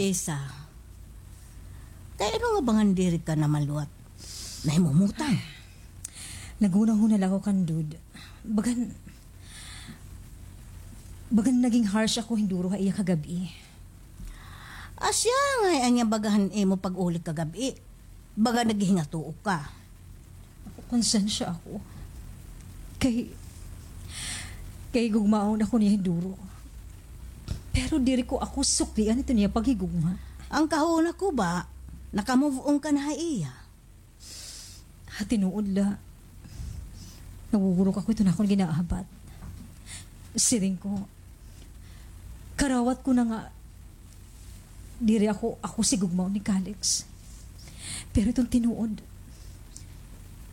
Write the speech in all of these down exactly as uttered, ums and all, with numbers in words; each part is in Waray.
Isa. Kay ano nga ba ngan diri ka na maluwat? Nahimumutang. Naghunahuna la ako kan Dud. Bagan, bagan naging harsh ako hinduro ha iya kagab-i. Asya nga, anya baga han imo pag-uli kagab-i. Baga naghingatuo ka. Konsensya ako. Kay, kay higugmaon ako niya hinduro. Pero diri ko ako suklian ito niya paghigugma. An kahuna ko ba, naka-move on ka na ha iya? Ha tinuod la, nagugurok ako ito na akon ginaabat. Siring ko, karawat ko na nga diri ako, ako sigugmaon ni Calix. Pero iton tinuod,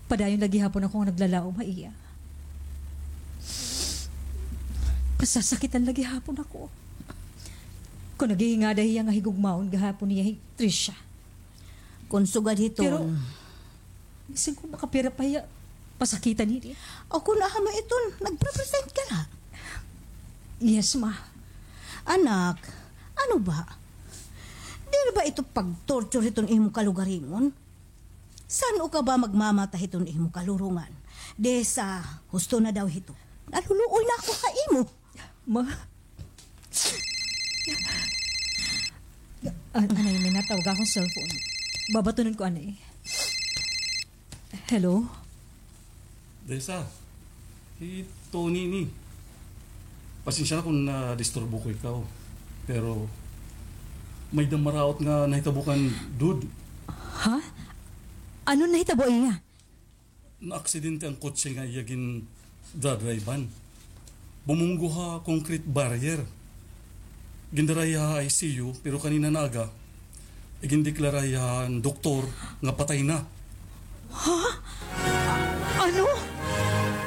padayon la gihapon ako nga naglalaom ha iya. Nasasakitan la gihapon ako. Kon naghihingada hiya nga higugmaon gihapon niya hi Trisha. Kon sugad hiton. Pero, bisan kon makapira pa hiya, pasakitan hini. O kon aha man iton, nagprepresent ka la. Yes, ma. Anak, ano ba? Diri ba ito pag-torture hiton imo kalugaringon? San-o ka ba magmamata hiton imo kalurungan? Desa, husto na daw hito. Naluluoy na ako ha imo. Ma? An-, anay, may natawag akon cellphone. Babatunon ko, anay. Hello? Desa, hi Tony ini. Pasensya na kon nadisturbo ko ikaw. Pero may-ada maraot nga nahitabo kan Dud. Ha? Ano nahitabo iya? Naaksidente an kotse nga iya gindadrivean. Bumunggo ha concrete barrier. Gindara hiya ha I C U, pero kanina nga aga, igindeklara hiya han doktor nga patay na. Ha? Ano?